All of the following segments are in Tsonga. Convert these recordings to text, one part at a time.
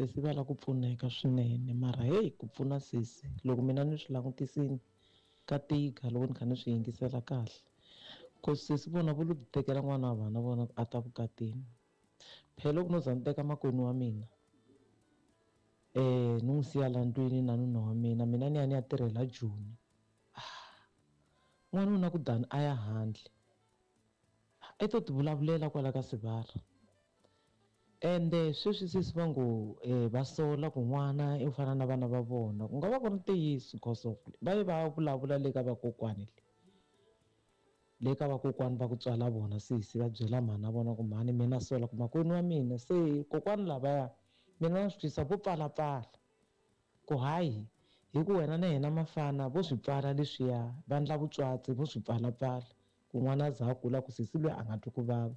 Sesi va lava ku pfuneka swinene mara heyi ku pfuna sesi loko mina ni swi langutisini ka tika loko ni kha ni swi yingisela kahle cause sesi vona vo lo ti tekela n'wana wa vana vona a ta vukatini phela loko no za ni teka makwenu wa mina ni n'wi siya la ndlwini na nuna wa mina mina ni ya ni ya tirhela Joni n'wanuna ku dani a ya handle i to ti vulavulela kwala ka sivara ende sweswi sesi va ngo va sola ku n'wana i fana na vana va vona ku nga va ku ri ntiyiso because of va ye va vulavula le ka vakokwani le le ka vakokwani va ku tswala vona sesi va byela mhana vona ku mhani mina sola ku makwenu wa mina se kokwani lavaya mina na swi twisa vo pfalapfala ku hayi hi ku wena na yena mafana vo swi pfala leswiya va ndla vutswatsi vo swi pfalapfala ku n'wana a za a kula ku sesi loyi a nga twi ku vava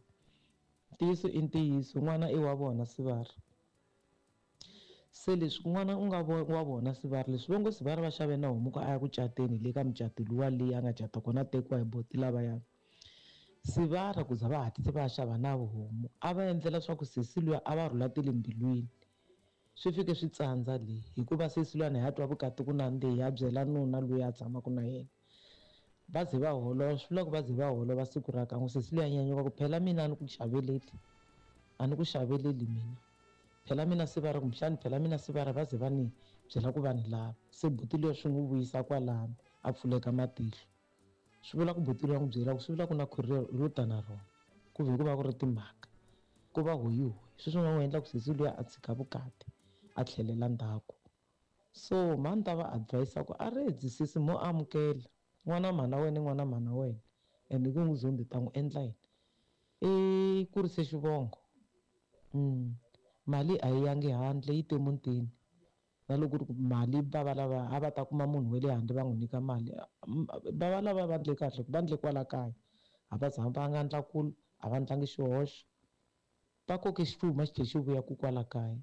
ntiyiso i ntiyiso n'wana i wa vona sivara se leswi n'wana u nga wa vona sivara leswi va ngo sivara va xave na homu ku a ya ku cateni le ka mucato luwa leyi a nga cata kona a tekiwa hi boti lavaya sivara ku za va hatlise va ya xava na homu a va endlela swa ku sesi luya a va rhula tele mbilwini swi fike swi tsandza le hikuva sesi luyani ha twa vukati ku nandziha ya byela nuna loyi a tshamaka na yena va ze va holova swi vula ku va ze va holova siku ra kan'we sesi luya nyanyuka ku phela mina a ni ku xaveleli a ni ku xaveleli mina phela mina se va ri kumbexani phela mina se va ri va ze va ni byela ku va ni lava se buti luya swi n'wi vuyisa kwalano a pfuleka matihlo swi vula ku buti luya n'wi byela ku swi vula ku na khwiri ro ta na rona ku ve ku va ku ri timhaka ku va hoyihoyi sweswi nga n'wi endla ku sesi luya a tshika vukati a tlhelela ndzhaku so mhani ta va advise ku a redzi sesi mo amukela n'wana mhana wena n'wana mhana wena ende ku n'wi zondi ta n'wi endla yini i kurise xivongo mali a yi yangi handle yi te mutini na loko ku ri ku mali va va lava a va ta kuma munhu wa le handle va n'wi nyika mali va va lava va ndle kahle va ndle kwala kaya a va zanga va nga ndla kulu a va ndlangi xihoxo va koke xifuma xi tlhe xi vuya ku kwala kaya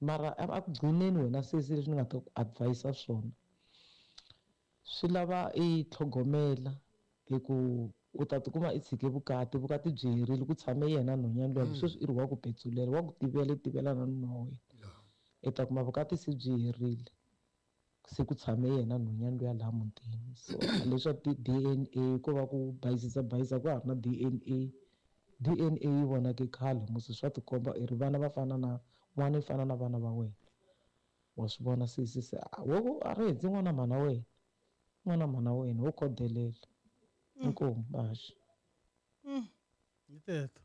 mara a ku gcineni wena sesi leswi ni nga ta ku advise swona swi lava i tlhogomela hi ku u ta tikuma i tshike vukati vukati byi herile ku tshame yena nhwanyana luya sweswi i ri wa ku petsulela wa ku tivela i tivela na nuna wa wena i ta kuma vukati se byi herile se ku tshame yena nhwanyana luya laha mutini so leswa ti-D_N_A ko va ku bayizisa bayizisa ku ha ri na D_N_A D_N_A yi vonake khale musi swa tikomba i ri vana va fana na n'wana i fana na vana va wena wa swi vona sesi se wo a ri hundzi n'wana mhana wena n'wana mhana wena wo khodelela inkomu baxa hi teto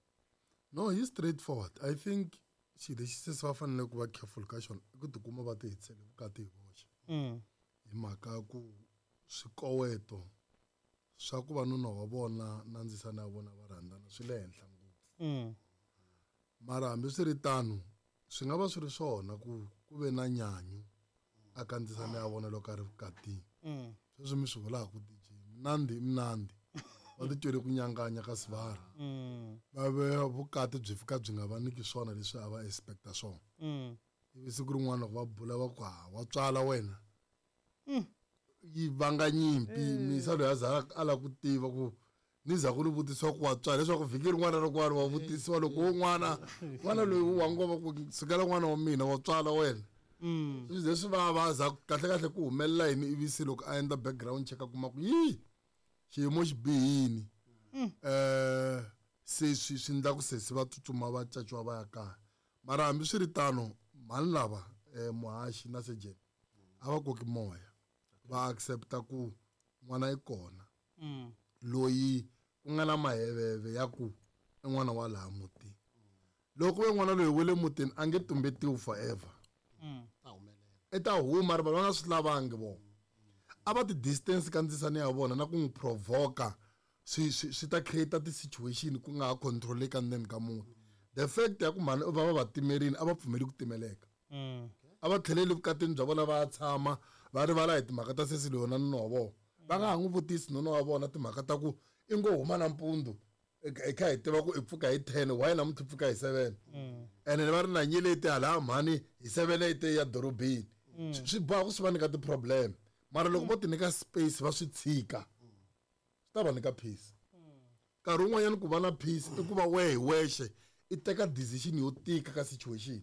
no hi straight forward I think xilo lexi sesi va fanele ku va careful ka xona i ku tikuma va ti hetisele vukati hi voxe hi mhaka ya ku swikoweto swa ku va nuna wa vona na ndzisana ya vona va rhandzana swi le henhla ngopfu mara hambiswiritano swi nga va swi ri swona ku ku ve na nyanyu a ka ndzisana ya vona loko a ri vukatini sweswi mi swi vulaka DJ mnandi mnandi va ti twele ku nyanganya ka sivara va ve vukati byi fika byi nga va nyiki swona leswi a va expecta swona ivi siku rin'wana loko va bula va ku ha wa tswala wena yi vanga nyimpi misa loyi a za a lava ku tiva ku ni za ku ni vutisiwa ku wa tswala leswaku vhiki rin'wana na rin'wana wa vutisiwa loko wo n'wana n'wana loyi wa ngoma ku sukela n'wana wa mina wa tswala wena swi ze swi vava za kahle kahle ku humelela yini ivi se loko a endla background check a kuma ku yi xiyimo xi bihini se swi swi endla ku sesi va tsutsuma va caciwa va ya kaya mara hambiswiritano mhani lava muhaxi na sejeni a va koki moya va accepta ku n'wana i kona loyi ku nga na maheveve ya ku i n'wana wa laha mutini loko ve n'wana loyi wa le mutini a nge tumbetiwi forever i ta huma ri va nga swi lavangi vona a va ti distance ka ndzisana ya vona na ku n'wi provoka swi swi swi ta create ti-situation ku nga ha controleka ndzeni ka muti the fact ya ku mhani va va va timerini a va pfumeli ku timeleka a va tlheleli vukatini bya vona va ya tshama va rivala hi timhaka ta sesi loyi na nuna wa vona va nga ha n'wi vutisi nuna wa vona timhaka ta ku i ngo huma nampundzu hi kha hi tiva ku i pfuka hi 10 why namuntlha i pfuka hi 7 ene va ri na nyeleti hala mhani hi 7 yi te ya dorobeni swi boha ku swi va nyika ti-problem mara loko vo ti nyika space va swi tshika swi ta va nyika peace nkarhi wun'wanyana ku va na peace i ku va wehe hi wexe i teka decision yo tika ka situation.